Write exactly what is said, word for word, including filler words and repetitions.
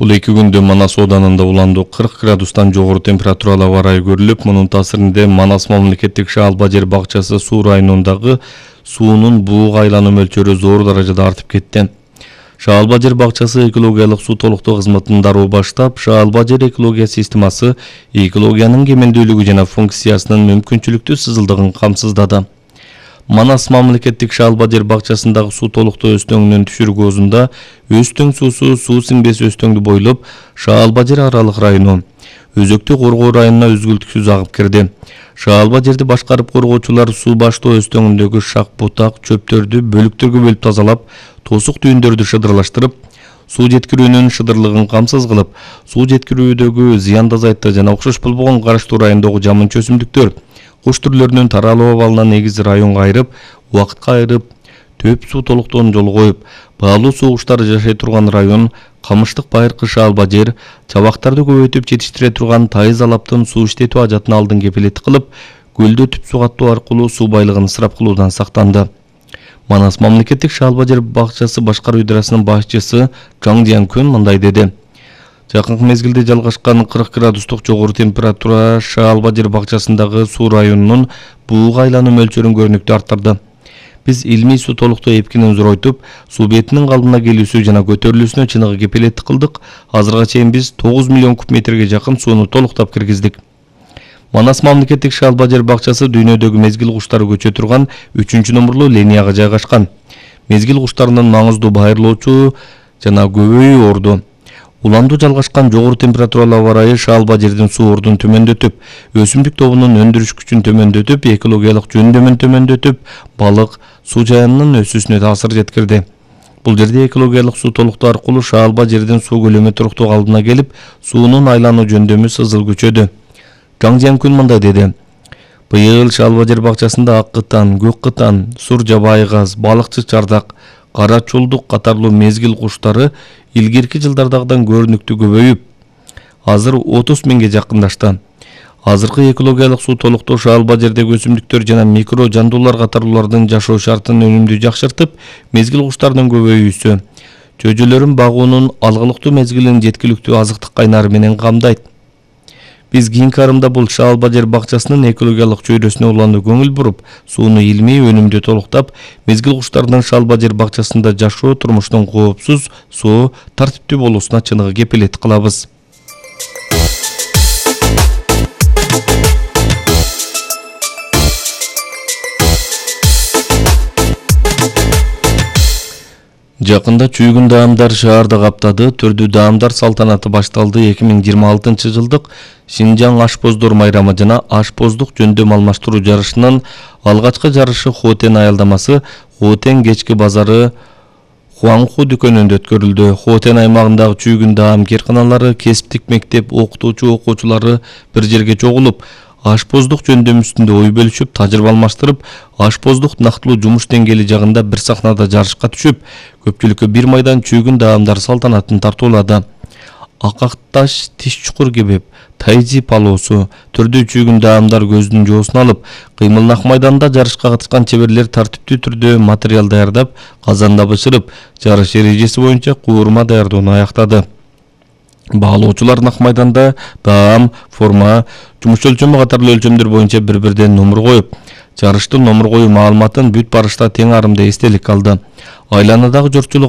Бул эки күндө Манас ооданында уланды кырк градустан жогору температуралуу аба ырайы көрүлүп, мунун таасиринде Манас мамлекеттик шаалба жер бакчасы суу районундагы суунун бууга айлануу мөлчөрү зор даражада артып кетти. Шаалба жер бакчасы экологиялык суу толуктоо кызматын дароо баштап, шаалба жер экология системасы экологиянын кемелдүүлүгү жана функциясынын мүмкүнчүлүктүү сызылдыгын камсыздады. Манас мамлекеттик шаалба жер бакчасындагы суу толуктоо өстөңүнүн түшүргөзүндө өстөң суусу суу сиңбес өстөңдү бойлоп шаалба жер аралык району өзөктү коргоо районуна үзгүлтүксүз агып кирди. Шаалба жерди башкарып коргоочулар суу баштоо өстөңүндөгү шак бутак чөптөрдү бөлүктөргө бөлүп тазалап, тосук түйүндөрдү шыдырлаштырып, суу жеткирүүнүн шыдырлыгын камсыз кылып, суу жеткирүүдөгү зыянды азайтты жана окшош болбогон караштуу райондогу жамынчы өсүмдүктөр, куш түрлөрүнүн таралуу абалына негизи районго айырып, убакытка айырып, төп суу толуктоонун жолу коюп, баалуу суу куштары жашай турган район, камыштык байыркы шаалба жер, чабактарды көбөйтүп жетиштире турган тайыз алаптын суу иштетүү ажатын алдын кепилет кылып, көлдө түп суу каттоо аркылуу суу байлыгын ысырап кылуудан сактанды. Манас мамлекеттик шаалба жер бакчасы башкаруу идарасынын башчысы Чаң Жиянкүн мындай деди. Жакынкы мезгилде жалгашкан кырк градустук жогору температура шаалба жер бакчасындагы суу районунун бууга айлануу мөлчөрүн көрүнүктүү арттырды. Биз илмий суу толуктоо эпкинин зоройтуп, суу бетинин калыбына келүүсү жана көтөрүлүүсүнө чыныгы кепилеттик кылдык. Азырга чейин биз тогуз миллион куб метрге жакын сууну толуктап киргиздик. Манас мамлекеттик шаалба жер бакчасы дүйнөдөгү мезгил куштары көчө турган үчүнчү номурлуу линияга жайгашкан. Мезгил куштарынын маңыздуу байырлоочу жана көбөйүү орду. Уланду жалгашкан жогору температуралуу аба ырайы шаалба жердин суу ордун төмөндөтүп, өсүмдүк тобунун өндүрүш күчүн төмөндөтүп, экологиялык жөндөмүн төмөндөтүп, балык, суу жайынын өсүүсүнө таасир жеткирди. Бул жерде экологиялык суу толуктоо аркылуу шаалба жердин суу көлөмү туруктуу калыбына келип, суунун айлануу жөндөмү сызыл күчөдү. Чаң Жиянкүн мындай деди. Быйыл шаалба жер бакчасында ак кытан, көк кытан, сур жабайы газ, балыкчы чардак, кара чулдук катарлуу мезгил куштары илгирки жылдардагыдан көрүнүктүү көбөйүп, азыр отуз миңге жакындашты. Азыркы экологиялык суу толуктоо шаалба жердеги өсүмдүктөр жана микро жандуулар катарлуулардын жашоо шартын өнүмдүү жакшыртып, мезгил куштарынын көбөйүүсү, чөйжөлөрүн багуунун алгылыктуу мезгилин жеткиликтүү азыктык кайнары менен камдайт. Биз кийинки арымда бул шаалба жер бакчасынын экологиялык чөйрөсүнө улануу көңүл буруп, сууну илмий өнүмдүү толуктап, мезгил куштарынын шаалба жер бакчасында жашоо турмуштун коопсуз, соо, тартиптүү болуусуна чыныгы кепилет кылабыз. Жакында чүйгүн даамдар шаарды каптады. Түрдүү даамдар салтанаты башталды. эки миң жыйырма алтынчы жылдык Шинжаң ашпоздор майрамы жана ашпоздук жөндөм алмаштыруу жарышынын алгачкы жарышы Хотен аялдамасы Хотен кечки базары Хуаңху дүкөнүндө өткөрүлдү. Хотен аймагындагы чүйгүн даам кээрканалары, кесиптик мектеп окутуучу окуучулары бир жерге чогулуп, ашпоздук жөндөм үстүндө ой бөлүшүп, тажрыйба алмаштырып, ашпоздук нактылуу жумуш деңгээли жагында бир сахнада жарышка түшүп, көпчүлүккө бир майдан чүйгүн даамдар салтанатын тартуулады. Акакташ, тиш чукур кебеп, тайжи палоосу, түрдүү чүйгүн даамдар көздүн жоосун алып, кыймыл ак майданда жарышка катышкан чеберлер тартиптүү түрдө материал даярдап, казанда бышырып, жарыш эрежеси боюнча куурма даярдоону аяктады. Баалоочулар нак майданда даам, форма, жумуш өлчөмү катарлуу өлчөмдөр боюнча бир-бирден номур коюп, жарыштын номур коюу маалыматын бүт барышта тең арымда эстелик алды. Айланадагы жортчулук